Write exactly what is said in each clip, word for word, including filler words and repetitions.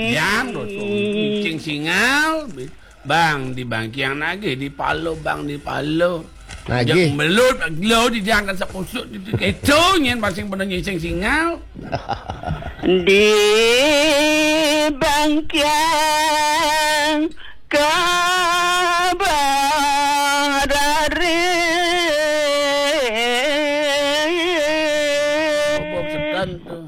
Yang dosa cing singal. Bang di bangkiang nagih di palo, bang di palo. Nagih. Jang belut gelo di jang kan sepusuk di keto nyen basing pernah nyising singal. Di bangkiang kabarari. Bob sekan tu.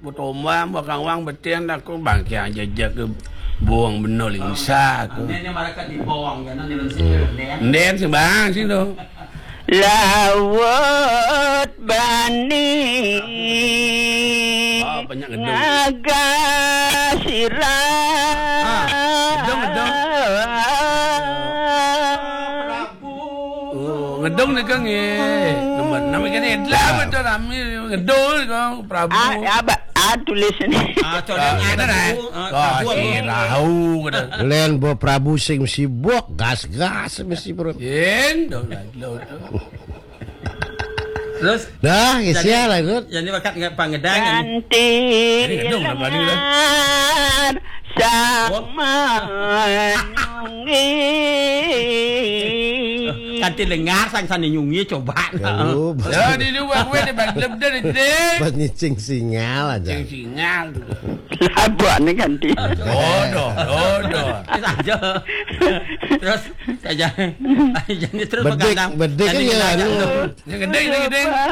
Botombang, bakawang, betian, aku bangkiang jejak ke buang benol ingsa aku. Nden yang marakat di bawang, ya, nan jalan sini, nden. Nden sing bang sing tu. Laut bani. Ah, banyak ngedung. Ngaga sirah. Ah, ngedung, ngedung. Oh, ngedung ni kang eh. Nama nama kan edla betul rami ngedung ni kang Prabu. Ah, ya, ba, ah, tulis ni. Ah, coba Ah, ada dah. Ah, Kau Prabu. Si rahu kena. Len bo Prabu sing sibuk, gas-gas mesti bro. Yen, dong lah, lo tu. Terus Dah, kesian lah, Gut. Yang ni bakat dengan pangedangan. Kanti Ini ngedung lah, balik dah. Lengar sama nyungi. Kanti lengar sang sana nyungi coba. Kalau Ya, di luar gue dia bang lebih dari dia. Buat nyicing singal aja. Cing singal tu. Labak ni kanti. Bodoh, bodoh. Saja. Terus saja. Jadi terus Bedik, begadang. Bedik Tadi kan ya, kena anu. aja tu. Yang gede, yang gede.